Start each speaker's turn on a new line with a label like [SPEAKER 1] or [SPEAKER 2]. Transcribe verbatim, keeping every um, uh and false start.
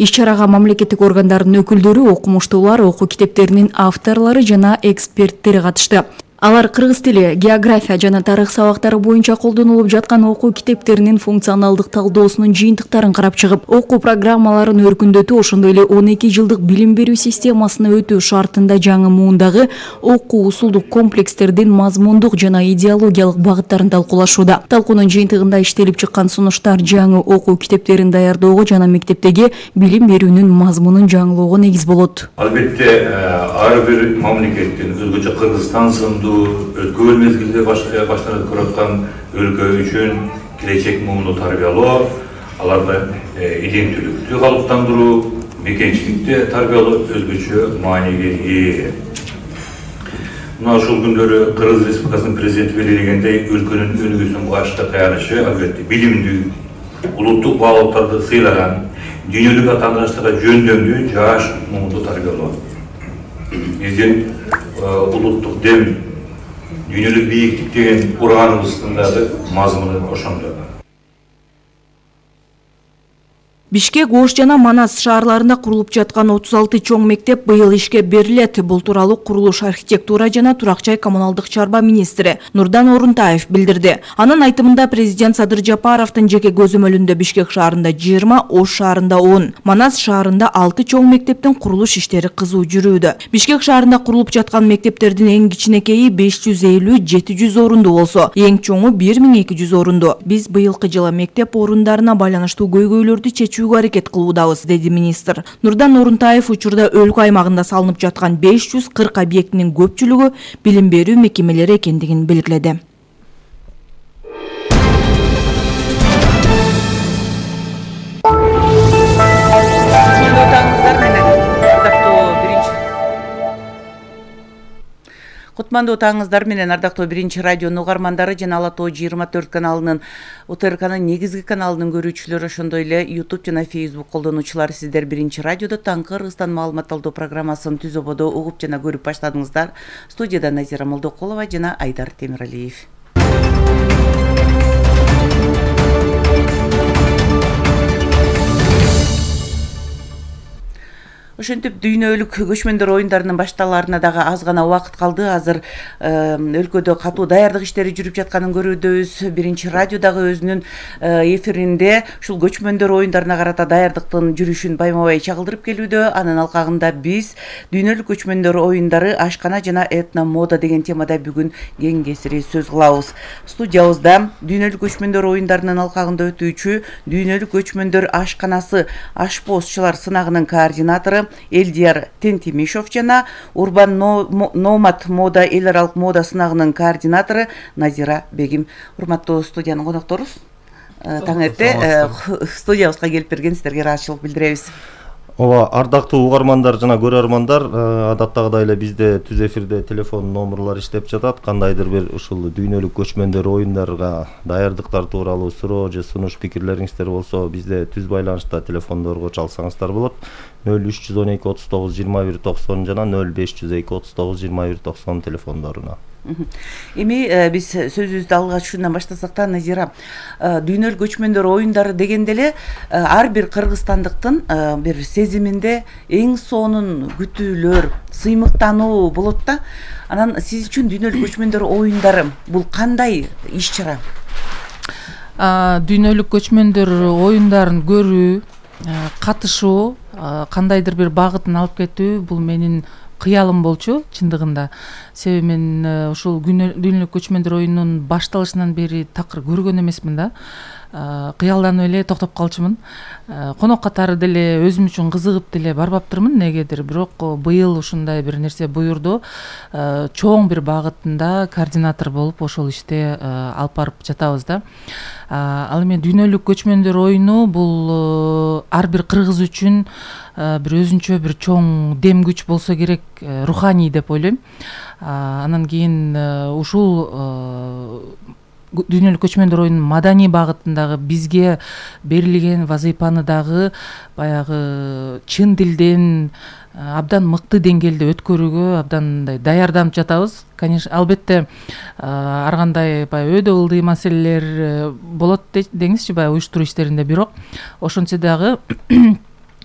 [SPEAKER 1] Иш-чарага мамлекеттик органдардын өкүлдөрү, окумуштуулар, окуу китептеринин авторлору жана эксперттери катышты. Алар кыргыз тили, география жана тарых сабактары боюнча колдонулуп жаткан окуу китептеринин функционалдык талдоосунун жыйынтыктарын карап чыгып, окуу программаларын өркүндөтүү, ошондой эле он эки жылдык билим берүү системасына өтүү шартында жаңы муундагы окуу усулдук комплекстердин мазмундук жана идеологиялык багыттарын талкуулашууда. Талкуунун жыйынтыгында иштелип чыккан сунуштар жаңы окуу китептерин даярдоого жана мектептеги билим берүүнүн мазмунун жаңылоого негиз болот.
[SPEAKER 2] Албетте, ар бир мамлекеттин, өзгөчө Кыргызстан сынды өткөн мезгилде баштанып көрөткөн өлкө үчүн келечек муунду тарбиялоо, аларды иденттүүлүктү калыптандыруу, мекенчиликти тарбиялоо өзгөчө мааниге ээ. Мына ушул күндөрү Кыргыз Республикасынын президенти белгилегендей, өлкөнүн өнүгүүсүнүн башкы таянышы албетте билимдүү, улуттук баалуулуктарды сыйлаган, дүйнөлүк атаандаштыкка жөндөмдүү жаш муунду тарбиялоо. Биздин улуттук дем, дүйнөлүк бийиктик деген ураганыбыздын дагы мазмуну ошондо.
[SPEAKER 1] Бишкек, Ош жана Манас шаарларында курулуп жаткан отуз алты чоң мектеп быйыл ишке берилет. Бул тууралуу курулуш, архитектура жана турак-жай коммуналдык чарба министри Нурдан Орунтаев билдирди. Анын айтымында президент Садыр Жапаровдун жеке көзөмөлүндө Бишкек шаарында жыйырма, Ош шаарында он, Манас шаарында алты чоң мектептин курулуш иштери кызуу жүрүүдө. Бишкек шаарында курулуп жаткан мектептердин эң кичинекейи беш жүз элүү — жети жүз орунду болсо, эң чоңу бир миң эки жүз орунду. Биз быйылкы жылы мектеп орундарына байланыштуу көйгөйлөрдү чечүү аракет кылуудабыз, деди министр. Нурдан Орунтаев учурда өлкө аймагында салынып жаткан беш жүз кырк объектинин көпчүлүгү билим берүү мекемелери экендигин белгиледи.
[SPEAKER 3] Кутмандуу таңыңыздар менен, ардактуу биринчи радионун угармандары жана Ала Тоо жыйырма төрт каналынын, УТРКнын негизги каналынын көрүүчүлөрү, ошондой эле YouTube жана Facebook колдонуучулары, сиздер биринчи радиодо таңкы Кыргызстан маалымат алуу программасын түз ободо угуп жана көрүп баштадыңыздар. Студияда Назира Молдокулова жана Айдар Темиралиев. Ошентип дүйнөлүк көчмөндөр оюндарынын башталаарына дагы аз гана убакыт калды. Азыр өлкөдө катуу даярдык иштери жүрүп жатканын көрүүдөбүз. Биринчи радио дагы өзүнүн эфиринде ушул көчмөндөр оюндарына карата даярдыктын жүрүшүн байма-бай чагылдырып келүүдө. Анын алкагында биз дүйнөлүк көчмөндөр оюндары, ашкана жана этно мода деген темада бүгүн кең кесири сөз кылабыз. Студиябызда дүйнөлүк көчмөндөр оюндарынын алкагында өтүүчү дүйнөлүк көчмөндөр ашканасы ашпоозчулар сынагынын координатору Элдияр Тентимишов жана Урбан Номад мода эл аралык мода сынагынын координатору Назира Бегим. Урматтуу студиянын конокторубуз, таң эрте студиябызга келип берген сиздерге ыраазычылык билдиребиз.
[SPEAKER 4] Ооба, ардактуу угармандар жана көрөрмандар, адаттагыдай эле бизде түз эфирде телефон номерлор иштеп жатат. Кандайдыр бир ушул дүйнөлүк көчмөндөр оюндарга даярдыктар тууралуу суроо же сунуш пикирлериңиздер болсо, бизде түз байланышта телефондорго чалсаңыздар болот. нөл үч жүз он эки отуз тогуз жыйырма бир токсон жана нөл беш жүз эки отуз тогуз жыйырма бир токсон телефондоруна.
[SPEAKER 3] Эми биз сөзүбүздү алгач ушундан баштасак да, Назира, дүйнөлүк көчмөндөр оюндары дегенде эле ар бир кыргызстандыктын бир сезиминде эң сонун күтүүлөр, сыймыктануу болот да. Анан сиз үчүн дүйнөлүк көчмөндөр оюндары бул кандай иш-чара?
[SPEAKER 5] Дүйнөлүк көчмөндөр оюндарын көрүү, катышуу, кандайдыр бир багытын алып кетүү бул менин кыялым болчу чындыгында. Себеби мен ушул дүйнөлүк көчмөндөр оюнунун башталышынан бери такыр көргөн эмесмин да. Кыялданып эле токтоп калчумун. Конок катары деле өзүм үчүн кызыгып деле барбаптырмын негедир, бирок быйыл ушундай бир нерсе буюрду. Чоң бир багытында координатор болуп ошол иште алып барып жатабыз да. Ал эми дүйнөлүк көчмөндөр оюну бул ар бир кыргыз үчүн бир өзүнчө бир чоң дем күч болсо керек, руханий деп ойлойм. Анан кийин ушул дүйнөлүк көчмөндөр оюнунун маданий багытындагы бизге берилген вазыйпаны дагы баягы чын дилден абдан мыкты деңгээлде өткөрүүгө абдан мындай даярданып жатабыз. Конечно, албетте ар кандай баягы өйдө ылдый маселелер болот деңизчи баягы уюштуруу иштеринде, бирок ошентсе дагы